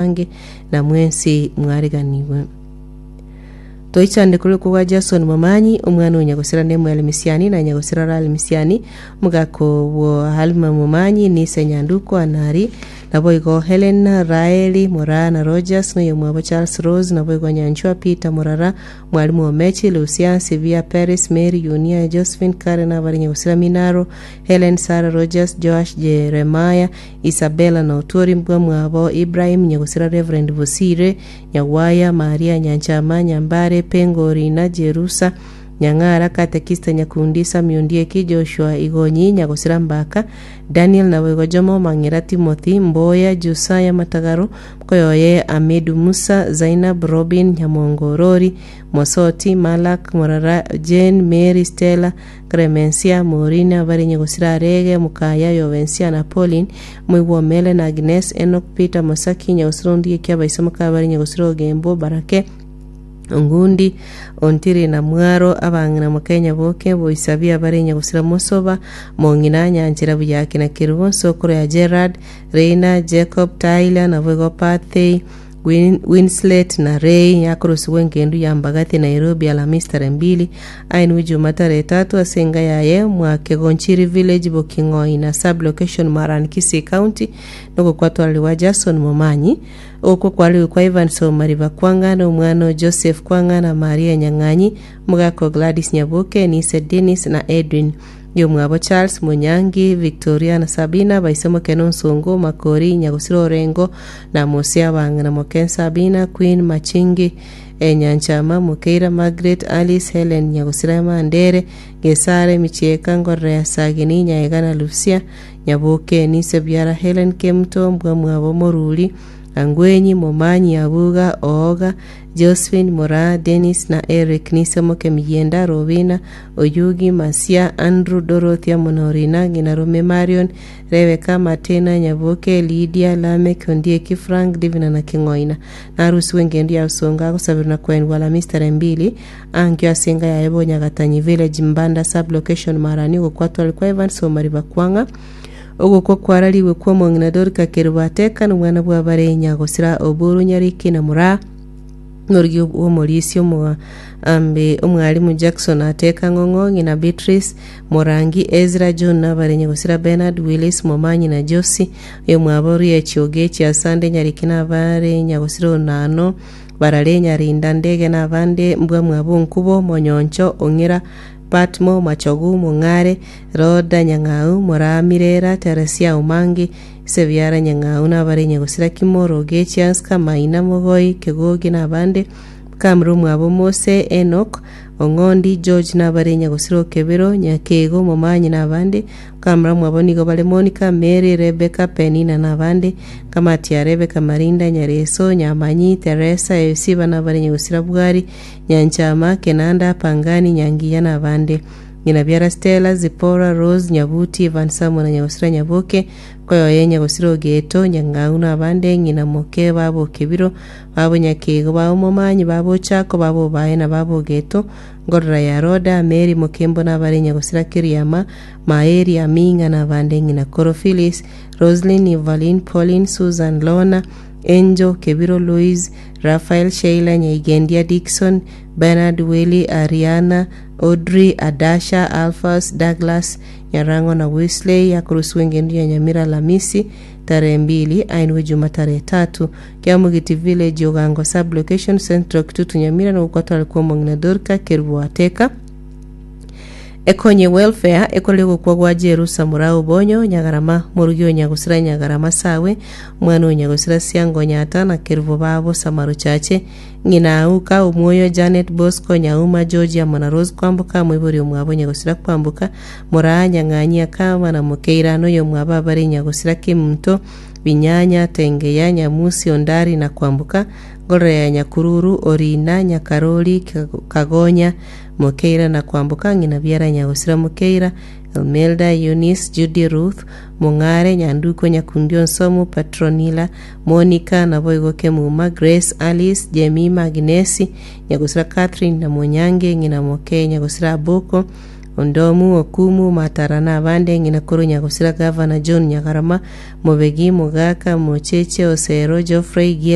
Ange, na mwensi mwariganigwe. Toichande korokwa gwa Jason Momanyi, omwana o Nyagosira Nemuel Misiani na Nyagosira Rali Misiani, omogaka bwo Halima Momanyi, Nise Nyanduko Anari, naboigo Helen, Raeli, Moraa na Rogers, na oyomwabo Charles Rose, naboigo Nyanchwa, Peter Morara, Mwalimu Omechi, Lucia, Sibia, Peris, Mary, Yunia, Josephine, Karen, abare Nyagosira Minaro, Helen, Sarah, Rogers, Joash, Jeremiah, Isabella na Otuori mbwamwabo Ibrahim, nyagosira Reverend Bosire, Nyagwaya, Maria, Nyanchama, Nyambare, Pengo, Rina, Jerusa, Nyang'ara, Katekista, Nyakundi, Sami Ondieki, Joshua, Igonyi, nyagosira Mbaka, Daniel naboigo Jomo, Mang'era, Timothy, Mboya, Josaya, Matagaro, Mkoyoye, Amidu, Musa, Zainab, Robin, Nyamongo, Orori, Mosoti, Malak, Morara, Jane, Mary, Stella, Clemencia, Maureen, abare nyagosira Arege, Mokaya, Yobensia, na Pauline, moigwa Omele, na Agnes, Enock, Peter, Mosaki, nyagosira Ondieki, abaiso moka abare nyagosira Ogembo, Barake, Ongundi, Ontiri na Mwaro, abang'ina moka Nyaboke, Boisabi, abare nyagosira Mosoba, Mong'ina, Nyanchera, Buyaki na Kerubo, nsokoro ya Gerard, Reina, Jacob, Tyler, naboigo Pathey, Win, Winslet na Ray yakorusigwa engendu ya Mbagathi Nairobi Alhamisi tarehe mbili ainwe Juma tarehe tatu ase enga yaye mwa Kegonchiri Village Boking'oi na sub location Maran Kisii County nogokwatwarerigwa Jason Momanyi okwo kwarigwe kwa Evans Omariba Kwang'a na omwana o Joseph Kwang'a na Maria Nyang'anyi omogaka o Gladys Nyaboke Nise Dennis na Edwin Yomwabo Charles, Monyangi, Victoria na Sabina, baise Mokene Onsongo, Makori, Nyagosira Orengo, na Mose Abang'ina Moken Sabina, Queen Machingi, Nyanchama, Mokeira, Margaret, Alice, Helen, Nyagosira Mandere, Gesare, Michieka, Ngorrea, Sagini, Nyaega na Lucia, Nyaboke, Nise Biara, Helen Kemuto, Mbwamwabo Moruri, Angwenyi, Momanyi, Abuga, Ooga, Josephine, Moraa, Dennis, na Eric, Nise Moke Miyienda, Robina, Oyugi, Masia, Andrew, Dorothy, amo na Orina, ng'ina Rome, Marion, Rebecca, Matena, Nyaboke, Lydia, Lameck, Ondieki, Frank, Divina na King'oina. Narusigwe engendu ya Usonga agosaberwa na koenigwa Alhamisi tarehe mbili, ankio ase enka yaye Bonyagatanyi Village, Mbanda Sub-location, Marani, ogokwatwa kwa Evans Omariba Kwang'a. Ogokwa kwararigwe kw'omong'ina Dorika Kerubo Ateka nomwana bw'abare Nyagosira Oburu Nyariki na Moraa Norigi bw'omorisia omoambe omwalimu Jackson Ateka Ng'ong'o ng'ina Beatrice Morangi Ezra John nabare Nyagosira Bernard Willis Momanyi na Josi oyomwabo Riachi Ogechi Asande Nyariki nabare Nyagosira Onano Barare Nyarinda Ndege nabande Mbwamwabo Nkubo Monyoncho Ong'ira Patmo, Machogu, Mong'are, Roda, Nyang'au, Moraa, Mirera, Teresia, Omangi, Sebiara, Nyang'au, na abare Nyagosira, Kimoro, Ogechi, Anska, Maina, Mogoi, Kegogi, na abande, Kamra omwabo Mose, Enock, Ong'ondi, George, na abare Nyagosira Okebero, Nyakego, Momanyi, na abande, Kamra omwabo nigo bare Monica, Mary, Rebecca, Penina, na abande, Kamati ya Rebecca, Marinda, Nyareso, Nyamanyi, Teresa, Esiba, na abare Nyagosira Bwari, Nyanchama, Kenanda, Pangani, Nyangiya na abande. Ng'ina biara Stella, Zipporah, Rose, Nyabuti, Ivan Samo na Nyagosira Nyaboke, Koyoye, Nyagosira Ogeto, Nyang'au na abande, ng'ina moke babo Kebiro, babo Nyakego, babo Momanyi, babo Ochako, babo Obae na babo Ogeto, Ngorora ya Roda, Mary Mokembo na abare Nyagosira Kiriama, Maeri, Aming'a na abande, ng'ina Koro Phyllis, Roslyn, Evaline, Pauline, Susan, Lorna, Angel, Kebiro, Louise, Raphael, Sheila, Nyaigendia, Dickson, Bernard, Willy, Ariana, Audrey, Adasha, Alphas, Douglas, Nyarang'o na Wesley, yakorosigwa engendu ya Nyamira Alamisi, tarehe mbili, ainwe Juma tarehe tatu, Kiamogiti Village, Ogango Sub-location, Central Kitutu Nyamira, na gokwatwara kw'omong'ina Dorca Kerubo Ateka. Ekonye Welfare ekorire gokwa gwa Jerusa Murau Obonyo, Nyagarama, Morugi o Nyagosira Nyagarama Sawe, Omwana o Nyagosira Siango Nyata na Kerubo babo Samaro Chache, Ng'ina Auka, Omwoyo Janet Bosco Nyauma George amo na Rose Kwamboka moibori omwabo Nyagosira Kwamboka, Moraa Nyang'anyi Akama na Mokeira noyomwabo abare Nyagosira Kemunto, Binyanya, Tengeya, Nyamusi, Ondari na Kwamboka, Ngorora ya Nyakururu, Orina, Nyakarori, Kagonya, Mokeira na kwamboka ng'ina biara Nyagosira Mokeira, Elmelda, Eunice, Judy, Ruth, Mong'are, Nyanduko, Nyakundi Onsomu, Petronila, Monica, naboigo Kemuma, Grace, Alice, Jemima, Agnesi, Nyagosira Catherine na Monyange, ng'ina moke Nyagosira Aboko, Ondomu, Okumu, Matara na abande, ng'ina korwa Nyagosira Gavana John Nyagarama, Mobegi, Mogaka, Mocheche, Osero, Geoffrey, Giel.